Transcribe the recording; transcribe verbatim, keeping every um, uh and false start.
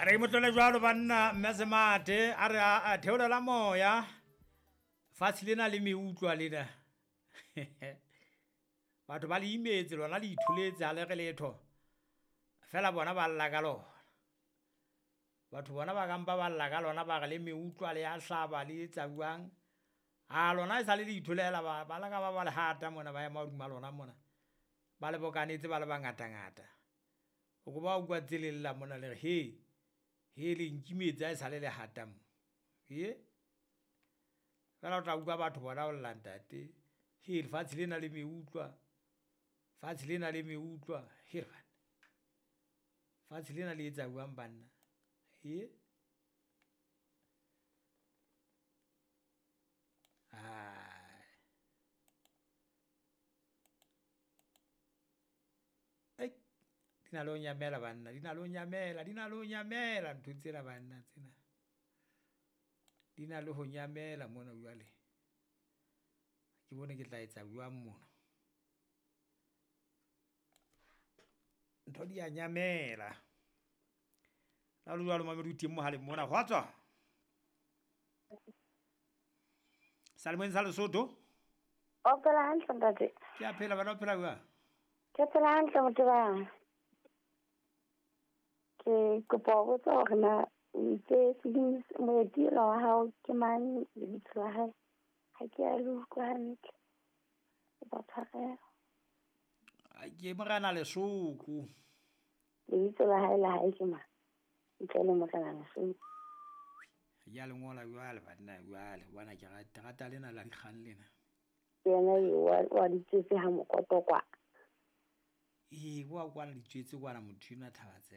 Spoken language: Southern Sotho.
Re motlole jwalo banna mme Semate a re a theolela moya fatshe lena le meutlwa lena. Batho ba le imetse lona le itholetse ha le re letho. Fela bona ba lla ka lona. Batho bona ba kampa ba lla ka lona ba re le meutlwa le ya hlaba le etsa jwang. A lona e sale le itholela ba ba laka ba ba le hata mona ba ema hodima lona mona. Ba le bokanetse ba le bangatangata. O ko ba utlwa ntse le lla mona le re he, he le nkimetse ha e sale le hata mo. Ye? Fela o tla utlwa batho bona o lla ntate. He lefatshe lena le meutlwa. Fatshe lena le meutlwa. He banna. Fatshe lena le etsa jwang banna? He? Ai. Ei, di na le ho nyamela banna, di na le ho nyamela, di na le ho nyamela ntho tsena banna tsena. Di na le ho nyamela mona jwale. Ke bone ke tla etsa jwang mona. Ntho di a nyamela. La le jwalo mamedi o teng mohaleng mona. Kgotso. Salemeng sa Lesotho. O phela hantle ntate. Ke a phela bana, o phela jwang? Ke phela hantle motho ba. Ke kopa ho botsa hore na o itse sebini moeti enwa wa hao ke mang lebitso la hae? Ha ke a le utlwa hantle. Kopa tshwarelo. Ke Morena Lesoko. Lebitso la hae la hae ke mang? Ntle le Morena Lesoko. Ya le ngola jwale banna jwale bona ke rata rata lena la dikgang lena. Yena eo wa wa ditsetse ha mokoto kwa. Ee, wa kwana ditsetse kwana motho enwa Thabatse.